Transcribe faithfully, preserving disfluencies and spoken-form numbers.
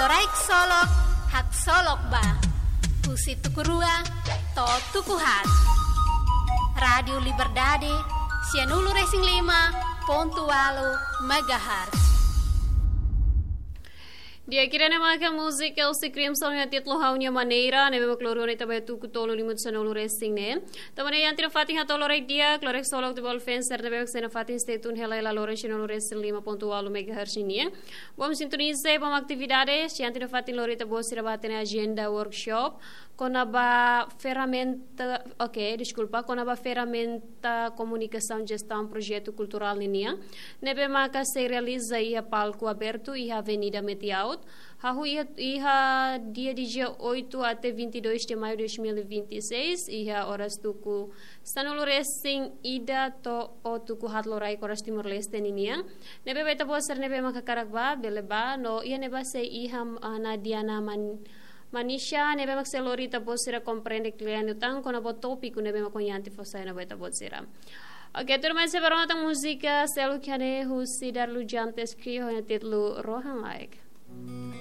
Loraisolok, haksolok ba. Husi tuku rua to'o tuku haat. Rádiu Liberdade, sianulu-resin-lima pontu ualu megahertz. Di'ak, ida-ne'e maka múzika Elsie Crimson ho títulu Ha'u-nia Maneira, ne'ebé mak lori ona ita ba tuku tolu liu sanulu-resin-neen. Tanba ne'e iha tiha ona fatin hato'o loraik di'ak, Loraisolok Tebol Fencer, ne'ebé mak sei nafatin stay tune hela iha loroloron sanulu-resin-lima pontu ualu megahertz nian. Bom sintoniza, bom atividade, iha tiha ona fatin lori ita-boot sira ba hatene agenda workshop kona-ba ferramenta, oke, deskulpa, kona-ba ferramenta komunikasaun jestaun projetu kulturál ninian, ne'ebé maka sei realiza iha palku abertu iha Avenida Metiaut, hahú iha, iha dia dezoito até vinte e dois de maio de dois mil e vinte e seis, iha oras tuku sanulu-resin-ida to'o tuku haat loraik oras Timor-Leste ninian. Ne'ebé ba ita-boot sira ne'ebé maka hakarak ba, bele ba, no iha ne'ebá sei iha, ah, Nadiana Man-, Manisha, ne'ebé mak sei lori ita-boot sira komprende kle'an liután kona-ba tópiku ne'ebé mak ohin ita fó sai ona ba ita-boot sira. Oke, tuirmai sei ba rona tan múzika seluk iha ne'e husi Darlu Jantes Krio ho títulu Rohan Laek.